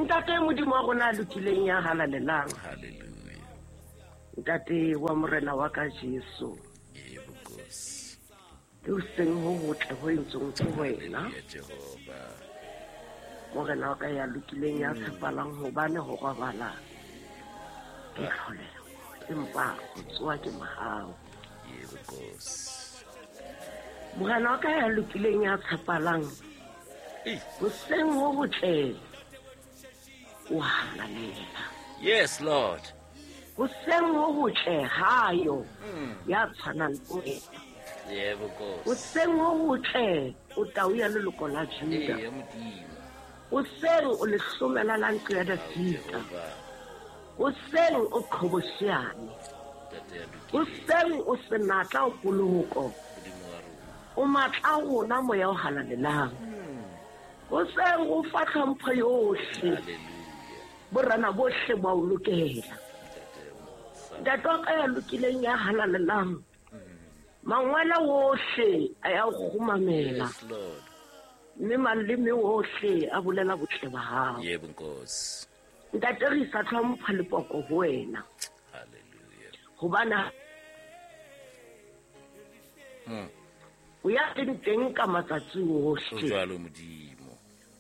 Ntate Modimo wa rona a lokileng ya halalelang. Hallelujah. Ntate wa Morena wa ka Jesu. Yebo Nkosi. Ke hoseng ho hotle ho entsweng ke wena. Hallelujah Jehova. Morena wa ka ya lokileng ya tshepalang hobane ho robala ke tlholeho empa ho tsoha ke mohau. Yebo Nkosi. Morena wa ka ya lokileng ya tshepalang Ei. hoseng ho hotle o halalela. Yes Lord. Hoseng ho hotle hayo ya tshwanang le wena. Yebo Nkosi. Hoseng ho hotle o tau ya leloko la Juda. Ee Modimo. Hoseng o lehlomela la ntlo ya Dafita. Jehova. Hoseng o qhobosheane. Ntate ya lokileng. Hoseng o senatla o poloko. Modimo wa rona. O matla a rona moya o halalelang. Hoseng o fa tlhompho yohle. Hallelujah. Borena bohle ba o lokela. Ntate ya mosa. Ntate wa ka ya lokileng ya halalelang. Mangwele wohle a ya o kgumamela. Yes Lord. Mme maleme wohle a bolela botle ba hao. Yebo Nkosi. Ntate re isa tlhompho le poko ho wena. Hallelujah. Hobane o ya leng teng ka matsatsi O ohle. jwalo Modimo.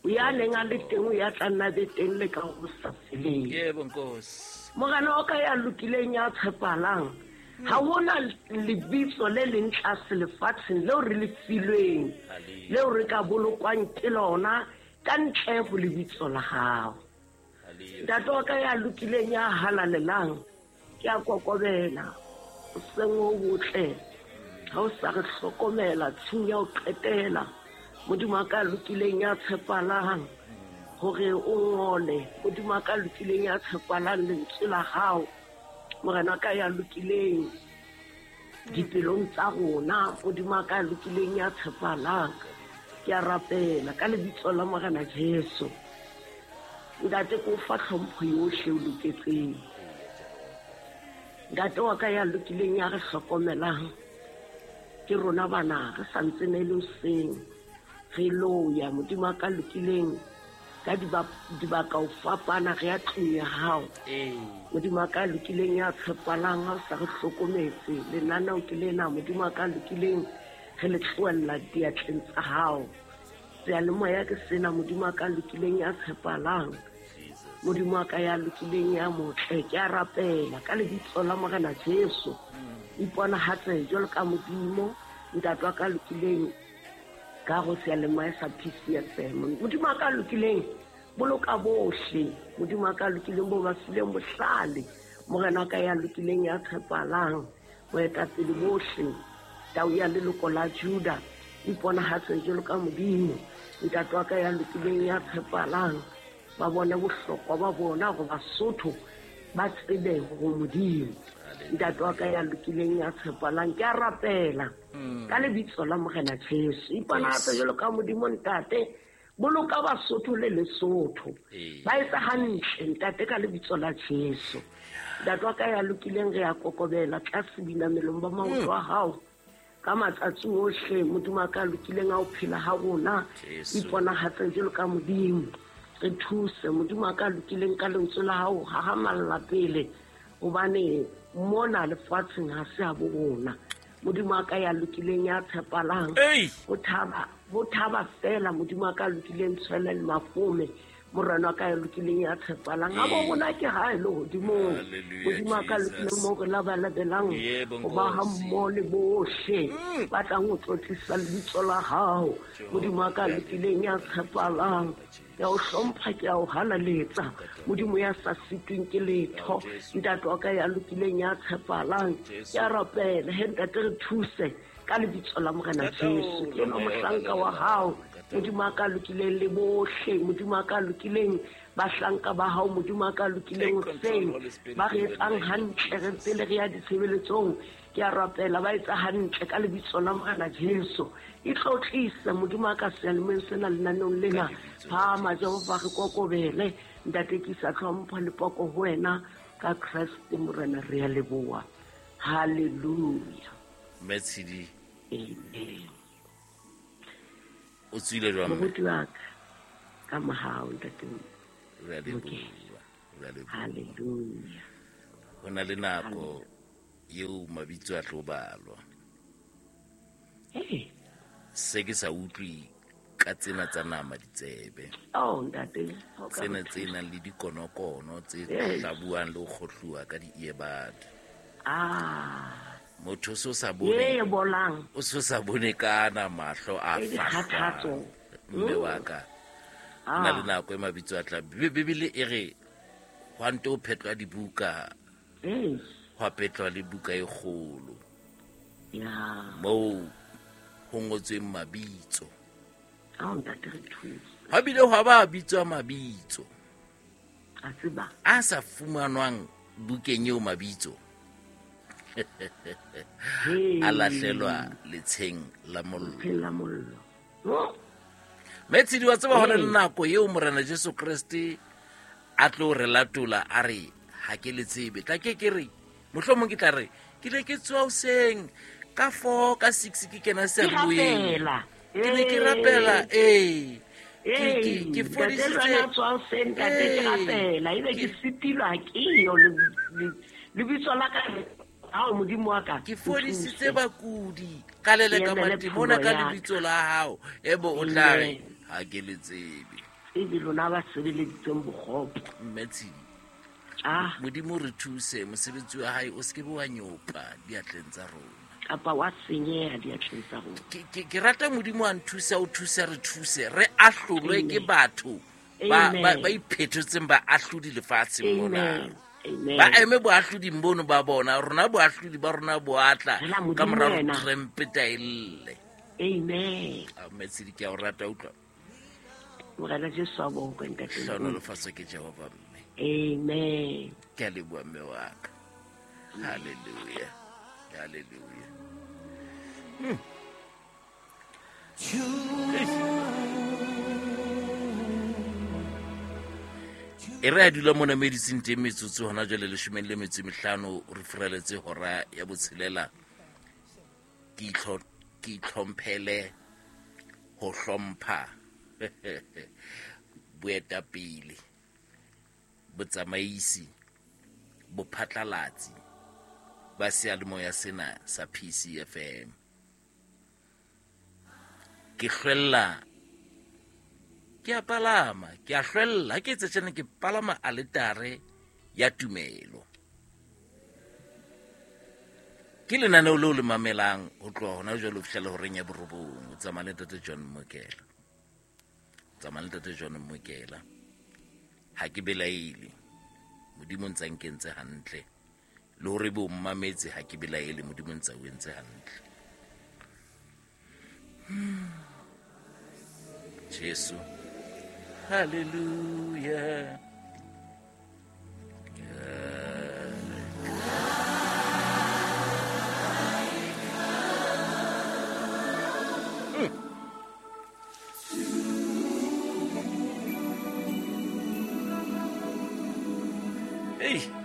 O ya neng a le teng o ya tla nna be teng le ka ho sa feleng. Yebo Nkosi. Morena wa ka ya lokileng ya tshepalang. Ha hona lebitso le leng tlase lefatsheng leo re le filweng. Hallelujah. Leo re ka bolokwang ke lona ka ntle ho lebitso la hao. Hallelujah. Ntate wa ka ya lokileng ya halalelang ke a kokobela hoseng ho botle ha o sa re hlokomela tshiu ya ho qetela. Modimo wa ka ya lokileng ya tshepalang hore o ngole. Modimo wa ka ya lokileng ya tshepalang lentswe la hao. Morena wa ka ya lokileng dipelong tsa rona. Modimo wa ka ya lokileng ya tshepalang. Ke a rapela ka lebitso la Morena Jesu. Ntate ke o fa tlhompho yohle o loketseng. Ntate wa ka ya lokileng ya re hlokomelang. Ke rona bana re sa ntse ne le hoseng. Re lo ya Modimo wa ka lokileng ka dibaka ho fapana re ya tlung ya hao. Ee. Modimo wa ka lokileng ya tshepalang ha o sa re hlokometse. Lenaneo ke lena Modimo wa ka lokileng re le tlohella diatleng tsa hao. Seyalemoya ke sena Modimo wa ka lokileng ya tshepalang. Jesus. Modimo wa ka ya lokileng ya motle ke a rapela ka lebitso la Morena Jesu. Iponahatse jwalo ka Modimo ntate wa ka lokileng ka go seyalemoya sa PCFM. Modimo wa ka lokileng boloka bohle. Modimo wa ka lokileng bo ba fileng bohlale. Morena wa ka ya lokileng ya tshepalang boetapele bohle. Tau ya leloko la Juda iponahatse jwalo ka Modimo. Ntate wa ka ya lokileng ya tshepalang ba bone bohlokwa ba bona hore Basotho ba tsebe hore Modimo. Ntate wa ka ya lokileng ya tshepalang ke a rapela ka lebitso la Morena Jesu. Iponahatse jwalo ka Modimo ntate. Boloka Basotho le Lesotho. Ee. Ba etsa hantle ntate ka lebitso la Jesu. Ntate wa ka ya lokileng re ya kokobela tlase dinamelong ba maoto a hao. Ka matsatsi ohle Modimo wa ka lokileng a o phela ha rona. Jesu. Iponahatse jwalo ka Modimo. Re thuse Modimo wa ka lokileng ka lentswe la hao hahamalla pele hobane mona lefatsheng ha se ha bo rona. Modimo wa ka ya lokileng ya tshepalang. Ei. Ho thaba fela Modimo wa ka lokileng tshwele le mafome. Morena wa ka ya lokileng ya tshepalang. Ha bo rona ke hae le hodimong. Hallelujah, Modimo wa ka Jesus. lokileng moo re labalabelang Yebo, ho ba ha Nkosi. mmoho le bohle ba tlang ho tlotlisa lebitso la hao. Modimo wa ka lokileng ya tshepalang. Ke a o hlompha, ke a o halaletsa. Modimo ya sa sitweng ke letho. Ntate wa ka ya lokileng ya tshepalang. Ke a rapela he ntate re thuse ka lebitso la Morena Jesu. Ke enwa mohlanka wa hao. Modimo wa ka lokileng le bohle. Modimo wa ka lokileng bahlanka ba hao. Modimo wa ka lokileng Take control, hoseng. Holy Spirit, Ba re in the etsang name of hantle re Jesus. pele re ya ditshebeletsong. Ke a rapela ba etsa hantle ka lebitso la Morena Jesu. E tlotlise Modimo wa ka seyalemoyeng sena lenaneong lena. Ka lebitso la Phahama Jesu. Jehova re kokobele. Ntate ke isa tlhompho le poko ho wena ka Kreste Morena re a leboha. Hallelujah. Mme Tshidi. Amen. O tswile jwang mme? Moruti wa ka, ka mohau ntate. Re a leboha, re a leboha. Hallelujah. Ho na le nako eo mabitso a tlo balwa. Hey. Se ke sa utlwe ka tsena tsa nama ditsebe. Oh, ntate. O ka Tsena re tse nang le dikonokono tse Yes. hlabuwang le ho kgohluwa ka di-earbud. Ah. Motho o so sa Ye bone, e bolang. o so sa bone ka ana mahlo a E dikgathatso. fahlwang. Mme wa ka. Ho na le Ah. nako e mabitso a tla. Bibele e re hwa nto phetlwa dibuka, Hey. hwa phetlwa le buka e kgolo. Ya. Moo ho ngotsweng mabitso. Ao, ntate, re thuse. Hwa bile hwa ba bitswa mabitso A tseba. a sa fumanwang bukeng eo mabitso. Hey. A lahlelwa letsheng la mollo. Letsheng la mollo. Oh. Metshidi wa tseba hona le Ee. nako eo Morena Jesu Kreste a tlo re latola a re ha ke le tsebe. Tla ke ke re mohlomong ke tla re ke ne ke tswa hoseng ka 4 ka 6 ke kena Ke seyalemoyeng. rapela. Ke ne ke rapela, ee. Ee, Ke ntate fodisitse. le wena tswa hoseng, ntate, ke Ee. rapela. Ebe ke sitilwa ke yo lebitso la ka. Ao, Modimo wa ka, Ke fodisitse nthuse. bakudi ka leleka Ke emele matimona pholo ka ya ka. lebitso la hao. Ebe o tla re Amen. ha ke le tsebe. Ebe lona ba sebeleditseng bokgopo. Mme Tshidi, Ah. Modimo re thuse, mosebetsi wa hae o se ke be wa nyopa diatleng tsa rona. Kapa wa senyeha diatleng tsa rona. Ke rata Modimo a nthusa, o thusa, re thuse, re ahlolwe ke Amen. batho Amen. ba iphetotseng ba ahlodi lefatsheng mona. Amen. Amen. Ba eme boahloding bono ba bona, rona boahlodi ba rona bo atla Fela Modimo ka mora yena. trumpeta e lle. Amen. Ah, Mme Tshidi, ke a o rata, utlwa. Morena Jesu a bokwe, ntate. Hlohonolofatswe ke Jehova, mme. Amen. Ke a leboha, mme wa ka. Hallelujah. Hallelujah. E re a dula mona mo e dutseng teng metsotso hona jwale 15, re furaletse hora ya botshelela. Ke itlhomphele ho hlompha boetapele, botsamaisi, bophatlalatsi ba seyalemoya sena sa PCFM. Ke hlwella, ke a palama, ke a hlwella, ha ke etsa tjena ke palama aletare ya tumelo. Ke lenaneo leo le mamelang ho tloha hona jwale ho fihlela horeng ya borobong. O tsamaya le Ntate John Mokela. O tsamaya le Ntate John Mokela. Ha ke belaele. Modimo o ntsa nkentse hantle. Le hore ebe o mmametse ha ke belaele, Modimo o ntsa o entse hantle. Jesu. Hallelujah. Hey.